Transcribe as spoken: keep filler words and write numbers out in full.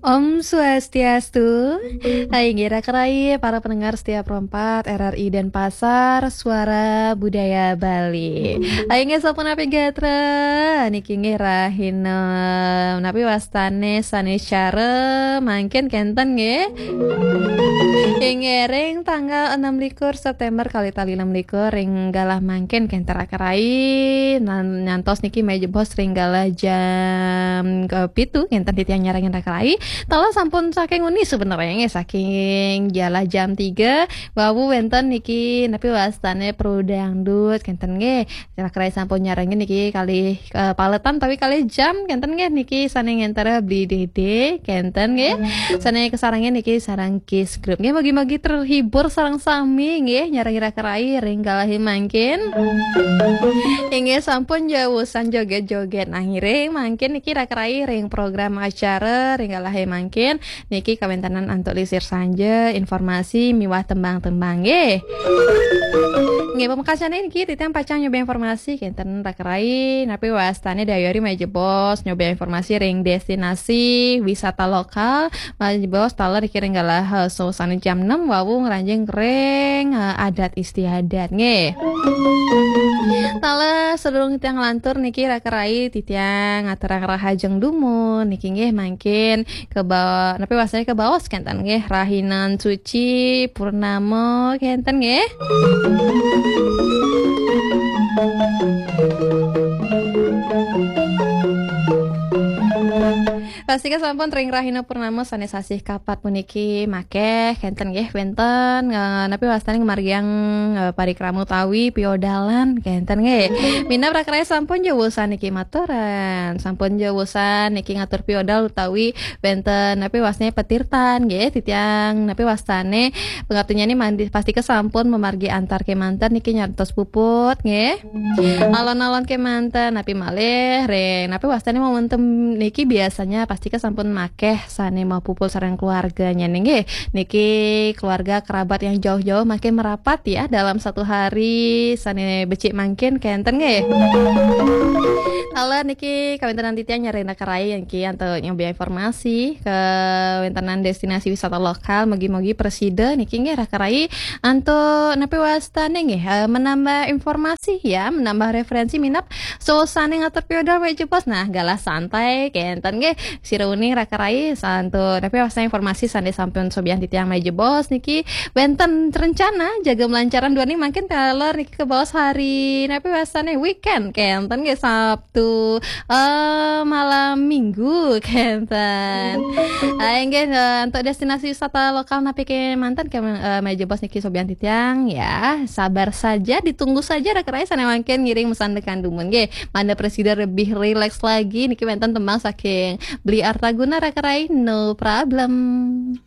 Om Swastiastu. Hai, inggih raka rai, para pendengar setia Pro empat, R R I Denpasar, Suara Budaya Bali. Hai, inggih sampun napi gatra? Niki inggih rahina napi wastane Saniscara mangkin kenten nggih. Inggih ring tanggal enam likur September kalih tali enam likur ring galah mangkin kenten raka rai. Nan-, nyantos niki malih jebos ring galah jam kepitu kenten titiang nyarengin raka rai. Taler sampun saking uni sebenarnya nggih, saking galah jam tiga, wau wenten niki napi wastane Pro Dangdut kenten nggih. Raka rai sampun nyarengin niki kalih, eh, paletan tapi kalih jam kenten nggih, niki sane ngenter Bli Dede kenten nggih. Sane kasarengin niki sareng Kiss Group. Nggih, mugi-mugi terhibur sareng sami nggih, nyarengin raka rai ring galahe mangkin. Inggih sampun jausan joget-joget. Nah, ngiring mangkin niki raka rai ring program acara ring galahe mangkin. Niki kawentenan antuk lisir sanja, informasi miwah tembang-tembang nggih. Nggih, pamekasane niki titiang pacang nyoba informasi kenten raka rai napi wastane Dayori malih jebos nyoba informasi ring destinasi wisata lokal. Malih jebos taler niki ring galah, eh, sawusane jam enam wau ngranjing ring, eh, adat istiadat nggih. Taler sadurung titiang nglantur niki raka rai titiang ngaturang rahajeng dumun niki nggih mangkin keba-, napi wastane kebaos kenten nggih, rahinan suci purnama kenten nggih. Pastika sampun ring rahina purnama sane sasih kapat puniki makeh kenten nggih wenten, eh, napi wastane ngamargiang, eh, parikrama utawi piodalan kenten nggih. Minab raka rai sampun jausan niki maturan, sampun jausan niki ngatur piodal utawi wenten napi wastane patirtan nggih, titiang napi wastane pangaptinyane mangkin pastika sampun mamargi antar kemanten niki nyantos puput nggih. Alon-alon kemanten napi malih ring napi wastane momentum niki biasanya pastika sampun makeh sane mapupul sareng keluarganya nggih. Niki keluarga kerabat yang jauh-jauh makin merapat ya dalam satu hari sane becik mangkin kenten nggih. Taler niki kawentenan titiang nyarengin raka rai niki antuk nyoba informasi kawentenan destinasi wisata lokal, mugi-mugi prasida niki nggih raka rai antuk napi wastane nggih, eh, menambah informasi ya, menambah referensi minab sawusane ngatur piodal malih jebos. Nah, galah santai kenten nggih. Sira uning raka rai antuk napi wastane informasi sane sampun sobiahang titiang malih jebos niki wenten rencana jagem lancaran duaning mangkin taler niki kebaos hari napi wastane weekend kenten nggih, Sabtu, eh, malam Minggu kenten. Ah, inggih, eh, antuk destinasi wisata lokal napi kemanten ke, eh, malih jebos niki sobiahang titiang ya. Sabar saja, ditunggu saja raka rai sane mangkin ngiring masandekan dumun nggih. Mangda prasida lebih rileks lagi niki wenten tembang saking Bli Artaguna raka rai, No Problem.